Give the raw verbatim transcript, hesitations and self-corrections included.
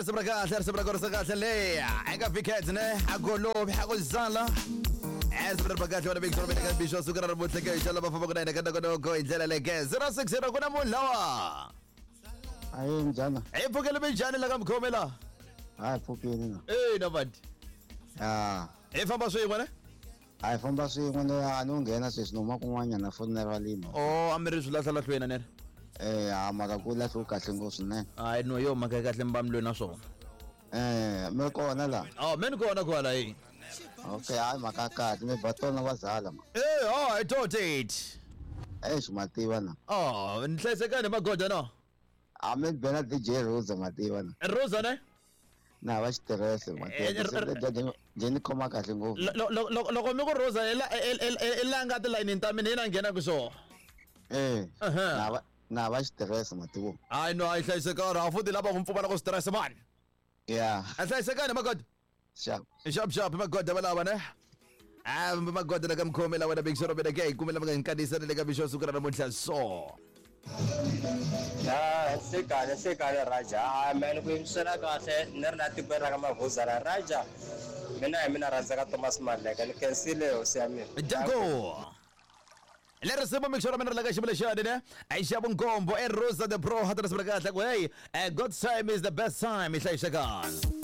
Risimu ra kahle, risimu ra korisa kahle le eka Vicat ne agolovi akuzala risimu ra kahle wena big show ka bisho suku ra namuntlha ke xa lava fambaka na hina ka nongonoko hi ndlela leke zero six zero ku na munhu lawa. Ayi, njhani? Hi pfukele minjhani la ka mukhomi la? Hayi, pfukini na. E na vandi. Ya. Hi famba swin'we ne? A hi famba swin'we ne, a ni u nghena sweswi ni huma kun'wanyana fonela lino. O a mi ri swilahlalahlweni ne? Eh, a mara ku lahliwe kahle ngopfu swinene. Hayi no, yo mhaka ya kahle mbamlweni na swona. Eh, mi kona la? Oh, mi ni kona kwala hi. Okay, hayi mhaka ya kahle, mi ba tona va zala ma. Eh, oh, i tot it. Eish, ma tiva na. Oh, ni hlayisekani magoda no? A mi bela D J Rosa, ma tiva na. Rosa ne? Na va xitirese ma Eh, tiva. r- r- Nje ni khoma kahle ngopfu. Lo- lo- lo- loko mi ku Rosa i la i- i- i- i la nga tilayinini ta mina yi na nghena ku swona. Eh. Aha. Na va na va xitirese ma tiva. Hayi no, a yi hlayisekanga, a futhi lava ku pfumala ku stress mani. Yeah. A hlayisekani magoda. Sharp. Sharp sharp magoda valava ne. Ah, magoda la ka mukhomi la wena big show mina ke kumela mi nga nkanisa le ka bisho suku ra namuntlha so. Ya, nhlekani nhlekani Raja. Hayi mani ku yingisela kahle ni ri la tikweni ra ka Mavhuzana Raja. Mina hi mina rhandzaka Thomas Maleka ni khensile hosi ya mina. Danko. Le risimu mixo ra mina ri la ka xivula xani ne a yi xa vunkombo e Rosa the Pro hatana risimu ra kahle ku hey, eh, God's time is the best time, i hlayisekani.